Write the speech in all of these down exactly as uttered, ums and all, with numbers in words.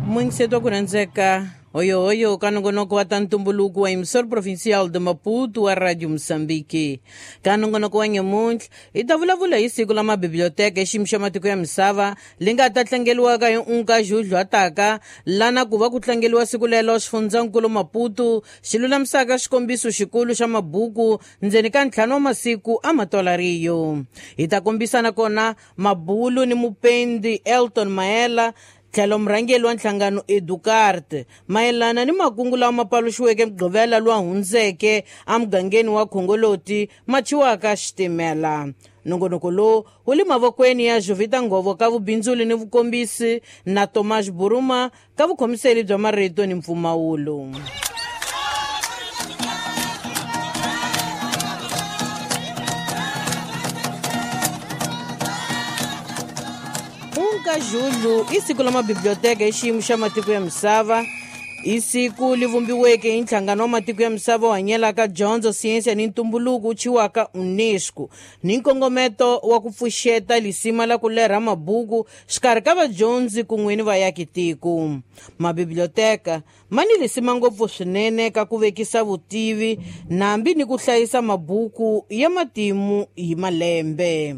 Mwingiseto ku rhandzeka hoyohoyo ka nongonoko wa ta ntumbuluko wa emissora provincial de Maputo wa Radio Moçambique. Ka nongonoko wa nyamuntlha hi ta vulavula hi siku la mabiblioteka xiyimo xa matiko ya misava li nga ta tlangeliwaka hi unka Julho ataka lana ku va ku tlangeliwa siku lelo xifundzankulu Maputo xi lulamisaka xikombiso xikulu xa mabuku ndzeni ka ntlhanu wa masiku a matolariyo. Hi ta kombisana kona mabulu ni mupendi Elton Maela tlhelo murhangeri wa nhlangano Educarte mayelana ni makungu lawa ma paluxiweke Mugqivela lowa hundzeke emugangeni wa Khongoloti ma thyiwaka xitimela. Nongonoko lowu wu le mavokweni ya Jovita Ngovo ka vubindzuli ni vukombisi na Tomas Buruma ka vukhomiseli bya marito ni mpfumawulo. Unka Julho i siku la mabiblioteka hi xiyimo xa matiko ya misava. I siku li vumbiweke hi nhlangano wa matiko ya misava wu hanyelaka dyondzo, siyense ni ntumbuluko wu thyiwaka UNESCO ni nkongometo wa ku pfuxeta lisima la ku lerha mabuku xikarhi ka vadyondzi kun'we ni vaakitiko. Mabiblioteka ma ni lisima ngopfu swinene ka ku vekisa vutivi nambi ni ku hlayisa mabuku ya matimu hi malembe.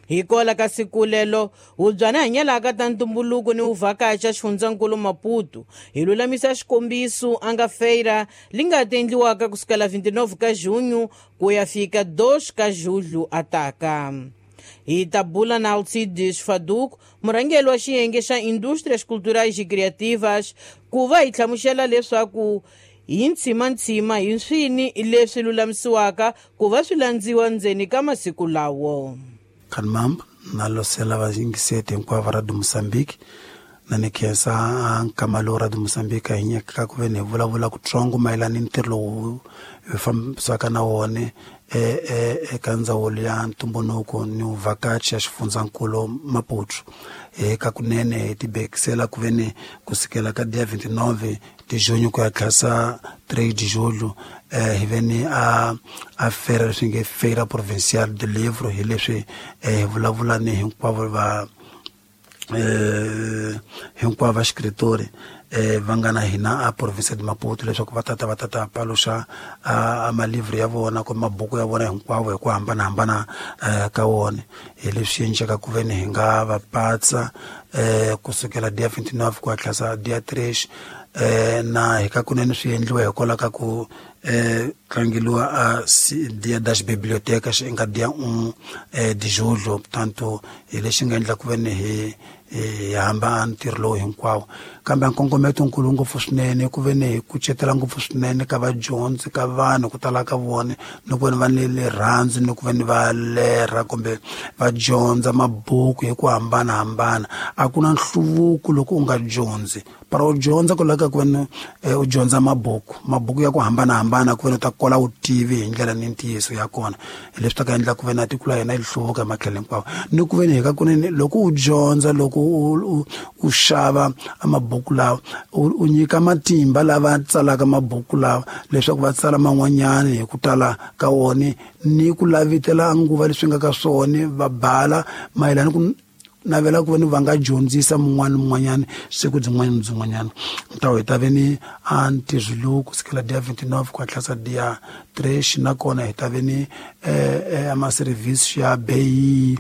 Hi kola ka siku lelo hubyana hanyelaka ta ntumbuluko ni vuvhakachi xifundzankulu Maputo hi lulamisa xikombiso a nga feira li nga ta endliwaka kusukela vinte e nove ka junho ku ya fika dois ka julho ataka. Hi ta bula na Alcides Faduco, murhangeri wa xiyenge xa Indústrias Culturais e Criativas, ku va hi hlamusela leswaku hi ntshimantsima hi swini leswi lulamisiwaka ku va swi landziwa ndzeni ka masiku lawo. Kanmamb na losela vayingiseti hinkwavo va Radio Moçambique na ni khensa nkama lowu Radio Moçambique hi nyikaka ku ve ni hi vulavula kutsongo mayelana ni ntirho lowu hi fambisaka na wona eka ndzawulo ya ntumbuluko ni vuvhakachi ya xifundzankulu Maputo. Eka kunene hi tibekisela ku ve ni kusukela ka dia vinte e nove de junho ku ya tlhasa três de julho eh, hi ve ni a a feira leswi nge Feira Provincial do Livro. Hi leswi eh, hi vulavula ni hinkwavo va eh, hinkwavo va escritori eh, va nga na hina a province de Maputo leswaku va tata va tata paluxa a malivri ya vona kumbe mabuku ya vona hinkwavo hi ku hambanahambana eh, ka wona. Hi leswi endleka ku ve ni hi nga va patsa eh, kusukela dia vinte e nove ku ya tlhasa dia três eh, na hi ka kunene swi endliwa hikwalaho ka ku eh, tlangeliwa a dia das bibliotecas nga dia um eh, de julho. Portanto hi lexi nga endla ku ve ni hi hi hamba ntirho lowu hinkwawo, kambe nkongometo nkulu ngopfu swinene ku ve ni hi kucetela ngopfu swinene ka vadyondzi, ka vanhu ku tala ka vona, ni ku ve ni va ni rirhandzu ni ku ve ni va lerha kumbe va dyondza mabuku hi ku hambanahambana. A ku na nhluvuko loko u nga dyondzi, para u dyondza ku laveka ku ve ni u dyondza mabuku mabuku ya ku hambanahambana ku ve ni u ta kola vutivi hi ndlela ni ntiyiso ya kona. Hi leswi ta ka endla ku ve na tiko la hina yi hluvuka hi matlhelo hinkwawo, ni ku ve ni hi ka kunene loko u dyondza, loko u u xava mabuku lawa, u nyika matimba lava tsalaka mabuku lawa leswaku va tsala man'wanyana hi ku tala ka wona ni ku lavitela nguva leswi nga ka swona, va bala mayelana ku navela ku ve ni va nga dyondzisa mun'wana mun'wanyana siku byin'wana ni byin'wanyana. Ntawo hi ta ve ni a ntirho lowu kusukela dia vinte e nove ku hatlisa dia três, nakona hi ta ve ni eh, ama-service ya beyi.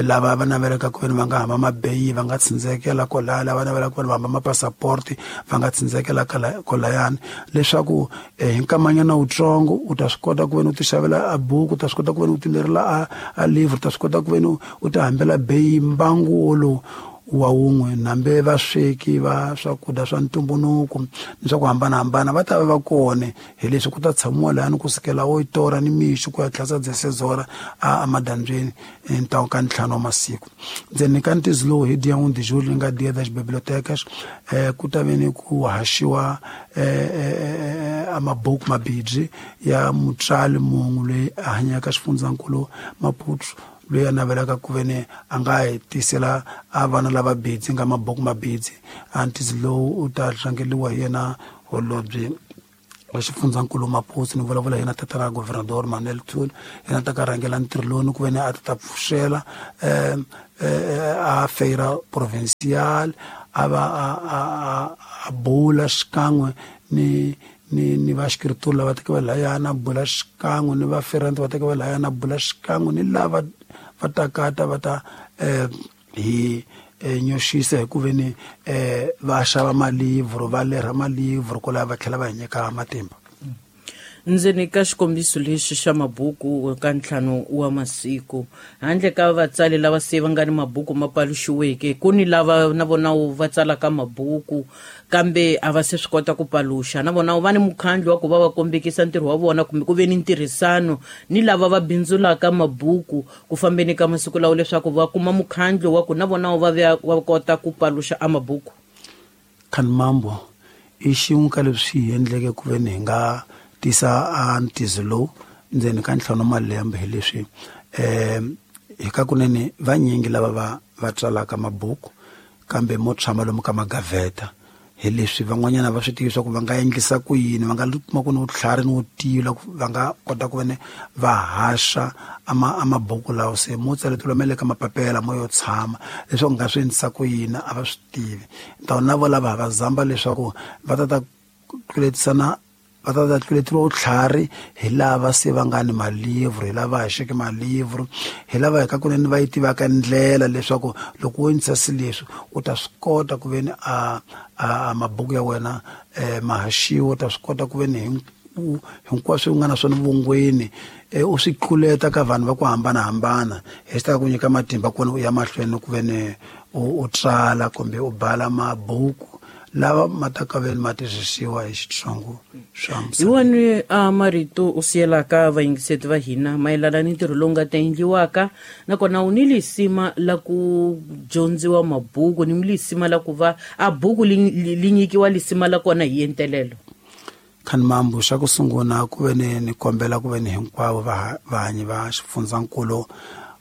Lava va navelaka ku ve ni va nga hamba mabeyi va nga tsindzekela kwalaya, lava navelaka ku ve ni va hamba mapassaporti va nga tsindzekela kwalayani, leswaku hi nkamanyana wutsongo u ta swi kota ku ve ni u ti xavela a buku, u ta swi kota ku ve ni u ti lerela a a livre, u ta swi kota ku ve ni u ti hambela beyi mbangu wolowu wa wun'we. Nambe vasweki va swakudya swa ntumbuluko ni swa ku hambanahambana va ta va va kona. Hi leswi ku ta tshamiwa lahani kusukela oito hora ni mixo ku ya tlhasa dezesseis hora a emadyambyini ntawo ka ntlhanu wa masiku. Ndzeni ka ntizo lowu hi dia um de julho yi nga dia das bibliotecas eh, ku ta ve ni ku haxiwa eh, eh, a mabuku mabidzi ya mutswali munhu loyi a hanyaka xifundzankulu Maputo, loyi a navelaka ku ve ni a nga hi tisela a vana lava bidzi nga mabuku mabidzi. A ntizo lowu u ta tlangeliwa hi yena holobye wa xifundzankulu Maputo. Ni vulavula yena tatana Governador Manuel Thule, yena ta ka rhangela ntirho lowu ni ku ve ni a ta ta pfuxela um a feira provincial, a va a a a bula xikan'we ni ni ni va escritor lava teke va layana, bula xikan'we ni va ferante va teke va layana, bula xikan'we ni lava va takata va ta eh hi nyoxisa hi ku ve ni eh va xava malivro, va lerha malivro kwalaho va tlhela va hi nyika matimba. Ndzeni ka xikombiso lexi xa mabuku ka ntlhanu wa masiku, handle ka vatsali lava se va nga ni mabuku ma paluxiweke, ku ni lava na vona va tsalaka mabuku kambe a va se swi kota ku paluxa, na vona va ni mukhandlu wa ku va va kombekisa ntirho wa vona kumbe ku ve ni ntirhisano ni lava va bindzulaka mabuku ku fambeni ka masiku lawo leswaku va kuma mukhandlu wa ku na vona va va kota ku paluxa a mabuku. Khanimambo i xin'we ka leswi hi endleke ku ve ni hi nga tisa a ntizo lowu ndzeni ka ntlhanu wa malembe hi leswi um hi ka kunene vanyingi lava va va tsalaka mabuku kambe mo tshama lomu ka magaveta, hi leswi van'wanyana va swi tivi swa ku va nga endlisa ku yini, va nga kuma ku ni vutlhari ni vutivi va nga kota ku vene va haxa ama a mabuku lawo se mo tsaletela ma le ka mapapela mo yo tshama leswaku nga swi endlisa ku yini a va swi tivi. Ntawu na vo lava va zamba leswaku va ta ta tluletisana, va ta ta tluleteriwa vutlhari hi lava se va nga ni malivro, hi lava haxeke malivro, hi lava hi ka kunene va yi tivaka ndlela leswaku loko wo endlisa swilo leswi u ta swi kota ku ve ni a a mabuku ya wena ma haxiwa, u ta swi kota ku ve ni hinkwaswo u nga na swona vongweni u swi tluleta ka vanhu va ku hambanahambana, hi swi ta ku nyika matimba kona u ya mahlweni ku ve ni u tsala kumbe u bala mabuku lava ma ta ka veni ma twisisiwa hi Xitsongo swa Hi wani a marito u siyelaka vayingiseti va hina mayelana ni ntirho lowu nga ta endliwaka, nakona u ni lisima la ku dyondziwa mabuku, ni lisima la ku va a buku li nyikiwa lisima la kona hi entelelo? Khanimambo, xa ku sungula ku ve ni ni kombela ku ve ni hinkwavo vahanyi va xifundzankulu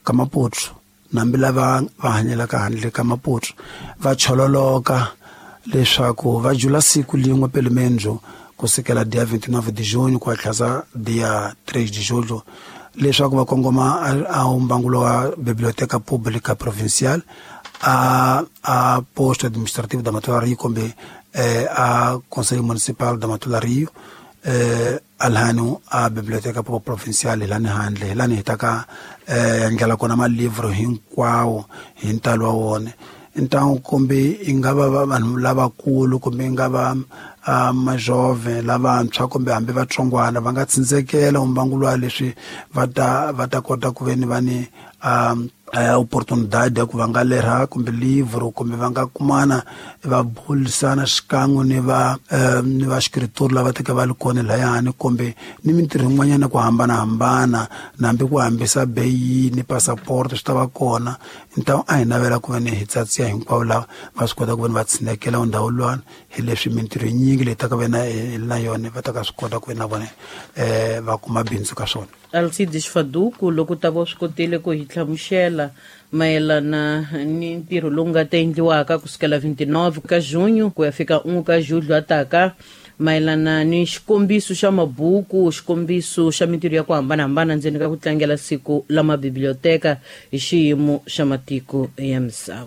ka Maputo, nambi lava va hanyelaka handle ka Maputo, va chololoka leswaku va jula siku lin'we pelemendzu kusukela dia vinte e nove de junho ku ya tlhasa dia três de julho, leswaku va kongoma a umbangulo wa Biblioteca Pública Provincial a a posto administrativo da Matola Rio kumbe a Conselho Municipal da Matola Rio, eh alhano a Biblioteca Provincial hi lani handle, hi lani hi ta ka endlela kona malivro hinkwawo hi ntalo wa wona. Ntangu kumbe i nga va vanhu lavakulu kumbe i nga va majove lavantshwa kumbe hambi vatsongwana va nga tsindzekela umbangulo wa leswi va ta va ta kota ku ve ni va ni oportunidade ya ku va nga lerha kumbe livro kumbe va nga kumana va bulisana xikan'we ni va ni va escritor lava teka va li kona layani kumbe ni mintirho yin'wanyana ku hambanahambana, nambi ku hambisa beyi ni passport swi ta va kona. Ntawu a hi navela ku ve ni hi tsatsiya hinkwavo lava va swi kota ku ve ni va tshinekela ndhawu luwani, hi leswi mintirho yinyingi leyi taka ve na na yona va ta ka swi kota ku ve na vona um va kuma bindzu ka swona. Alcides Faduku, loko ta va swi kotile ku hi hlamusela mayelana ni ntirho lowu nga ta endliwaka kusukela vinte e nove ka junho ku ya fika um ka julho ataka, mayelana ni xikombiso xa mabuku, xikombiso xa mintirho ya ku hambanahambana ndzeni ka ku tlangela siku la mabiblioteka hi xiyimo xa matiko ya misava.